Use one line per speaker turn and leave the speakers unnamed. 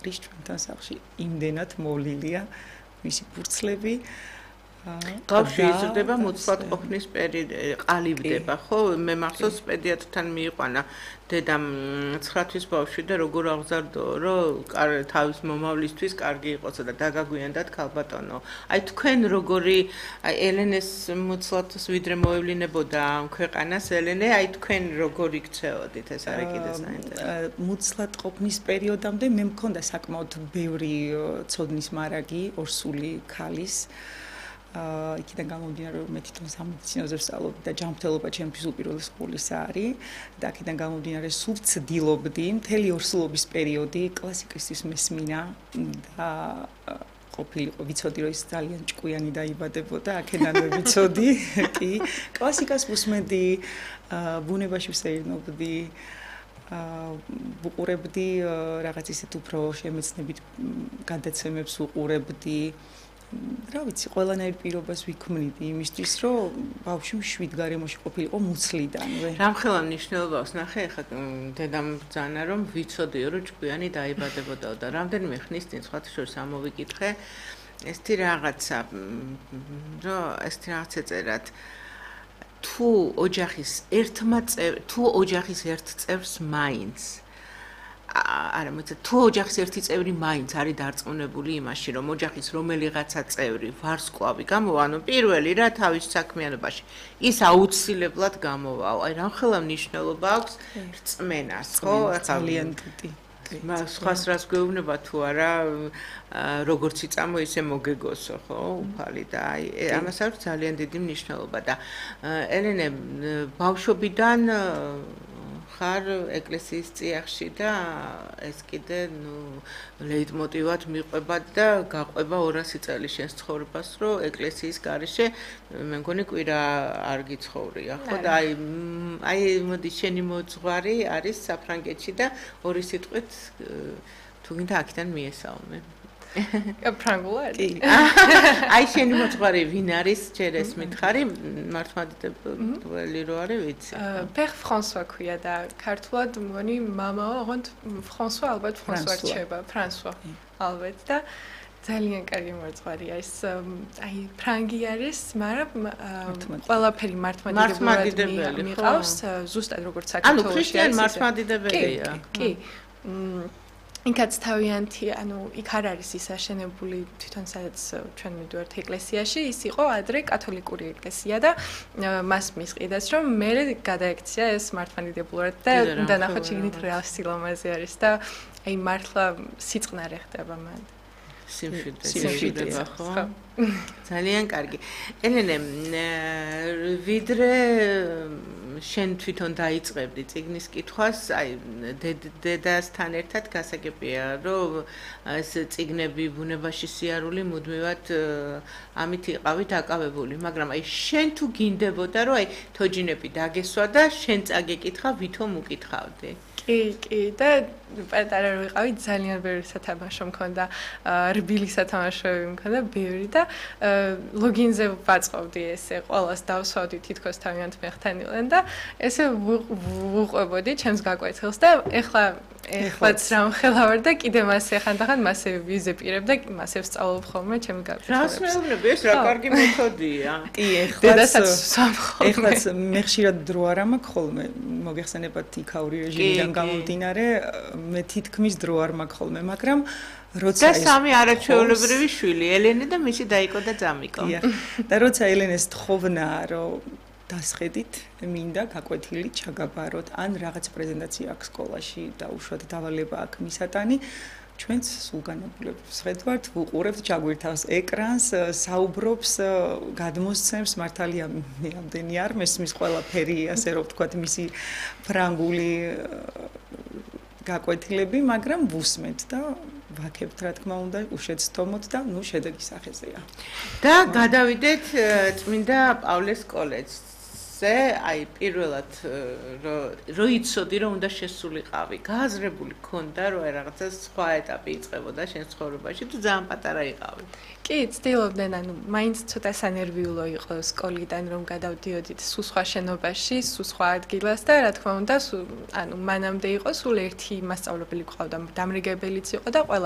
ყრის ჩვენთან სახლში იმდენად მოვლილია მისი ფურცლები
Გავში იზრდება მოცლად ყოფნის ყალიბდება, ხო? მე მახსოვს პედიატრთან მიიყვანა დედამ 9 თვის ბავშვი და როგორ აღზარდო, რომ თავის მომავლისთვის კარგი იყოსო და დაგაგვიანდათ ქალბატონო. აი თქვენ როგორი ელენეს მოცლათს ვიდრე მოევლინებოდა ამ ქვეყანას ელენე, აი თქვენ როგორი გწეოდით ეს არის კიდე საინტერესო.
მოცლად ყოფნის პერიოდამდე მე მქონდა საკმაოდ ბევრი ცოდნის მარაგი, ორსული ქალის იქიდან გამომდინარე რომ მე თვითონ სამედიცინოზე ვსწავლობდი და ჯანმრთელობა ჩემთვის უპირველეს ყოვლისა არის და აქედან გამომდინარე სულ ვცდილობდი მთელი ორსულობის პერიოდი კლასიკისთვის მესმინა და ყოფილიყო ვიცოდი რომ ის ძალიან ჭკვიანი დაიბადებოდა აქედან ვიცოდი კი კლასიკას ვუსმენდი ბუნებაში ვსეირნობდი ვუყურებდი რაღაც ისეთ უფრო შემეცნებით გადაცემებს ვუყურებდი რა ვიცი, ყველანაირ პირობას ვიქმნიდი იმისთვის, რომ ბავშვი მშვიდ გარემოში ყოფილიყო მუცლიდანვე.
რამხელა მნიშვნელობას ნახე, ახლა დედამ ბრძანა, რომ ვიცოდიო, რომ ჭკვიანი დაიბადებოდაო და რამდენიმე ხნის წინ სხვათა შორის ამოვიკითხე, ესეთი რაღაცა, რომ ესეთი რაღაცა წერათ, თუ ოჯახის ერთ წევრს მაინც არა მოიცა თუ ოჯახის ერთი წევრი მაინც არის დარწმუნებული იმაში რომ ოჯახის რომელიღაცა წევრი ვარსკვლავი გამოვა ანუ პირველი რა თავის საქმიანობაში ის აუცილებლად გამოვაო აი რამხელა მნიშვნელობა აქვს რწმენას ხო
ძალიან დიდი
სხვას რას გვეუბნება თუ არა როგორც იწამო ისე მოგეგოსო ხო უფალი და აი ამას აქვს ძალიან დიდი მნიშვნელობა და ელენე ბავშვობიდან ხარ ეკლესიის წიაღში და ეს კიდე ლეიტმოტივად მიყვება და გაყვება 200 წელი შენს ცხოვრებას რომ ეკლესიის გარეშე მე მგონი კვირა არ გიცხოვრია ხო და აი მოდი შენი მოძღვარი არის საფრანგეთში და ორი სიტყვით თუ გინდა აქედან მიესალმე
ფრანგულად
აი შენი მოძღვარი ვინ არის ჯერ ეს მითხარი მართლმადიდებელი რო არის ვიცი
პერ ფრანსუა ქვია და ქართულად მგონი მამაო ოღონდ ფრანსუა ალბათ ფრანსუა რჩება ფრანსუა ალბათ და ძალიან კარგი მოძღვარია ეს აი ფრანგი არის მაგრამ ყველაფერი მართლმადიდებლად მიყავს ზუსტად როგორც საქართველოში
ანუ ქრისტიან მართლმადიდებელია
კი იქაც თავიანთი, ანუ იქ არ არის ის აშენებული თვითონ სადაც ჩვენ მივდივართ ეკლესიაში, ის იყო ადრე კათოლიკური ეკლესია და მას მისყიდეს, რომ მე გადაექცია ეს მართლმადიდებლურად და უნდა ნახოთ შეგნით რა სილამაზე არის და აი მართლა სიწყნარე ხდება მან.
სიმშვიდე ხო? ძალიან კარგი. ელენე, ვიდრე შენ თვითონ დაიწყებდი წიგნის კითხვას, აი დედასთან ერთად გასაგებია, რომ ეს წიგნები ბუნებაში სიარული მუდმივად ამით იყავით აკავებული, მაგრამ აი შენ თუ გინდებოდა, რომ აი თოჯინები დაგესვა და შენ წაგეკითხა, ვითომ უკითხავდი?
კი და პატარა რო ვიყავი ძალიან ბევრი სათამაშო მქონდა რბილი სათამაშოები მქონდა ბევრი და ლოგინზე ვაწყობდი ესე ყველას დავსვავდი თითქოს თავიანთ მეხთანილენ და ესე ვუყვებოდი ჩემს გაკვეთილს და ეხლაც რამხელა ვარ და კიდე მასე ხანდახან მასე ვიზეპირებ და მასე ვსწავლობ ხოლმე ჩემს
რას
გაკვეთილებს.
მეუბნები ეს რა კარგი მეთოდია.
კი ეხლაც მე ხშირად დრო არ მაქვს ხოლმე მოგეხსენებათ იქაური რეჟიმიდან გამომდინარე მე თითქმის დრო არ მაქვს ხოლმე მაგრამ როცა
და სამი არაჩვეულებრივი შვილი ელენე და მისი დაიკო და ძამიკო
და როცა ელენეს თხოვნა რომ დასხედით მინდა გაკვეთილი ჩაგაბაროთ ან რაღაც პრეზენტაცია აქვს სკოლაში და უშუალოდ დავალება აქვს მისატანი ჩვენც სულგანებულებს ხედავთ ვუყურებთ ჩაგვირთავს ეკრანს საუბრობს გადმოსცემს მართალია მე ამდენი არ მესმის ყველაფერი ასე რომ ვთქვათ მისი ფრანგული გაკვეთილები მაგრამ ვუსმენთ და ვაქებთ რა თქმა უნდა უშეცდომოთ და ნუ შედეგი სახეზეა
და გადავიდეთ წმინდა პავლეს კოლეჯზე აი პირველად რო იცოდი რომ უნდა შესულიყავი გააზრებული ქონდა რომ რაღაცა სხვა ეტაპი იწყებოდა შენ ცხოვრებაში თუ ძალიან პატარა იყავი
კი ცდილობდნენ ანუ მაინც ცოტა სანერვიულო იყო სკოლიდან რომ გადავდიოდით სულ სხვა შენობაში სულ სხვა ადგილას და რა თქმა უნდა ანუ მანამდე იყო სულ ერთი მასწავლებელი ყავდა დამრიგებელიც იყო და ყველა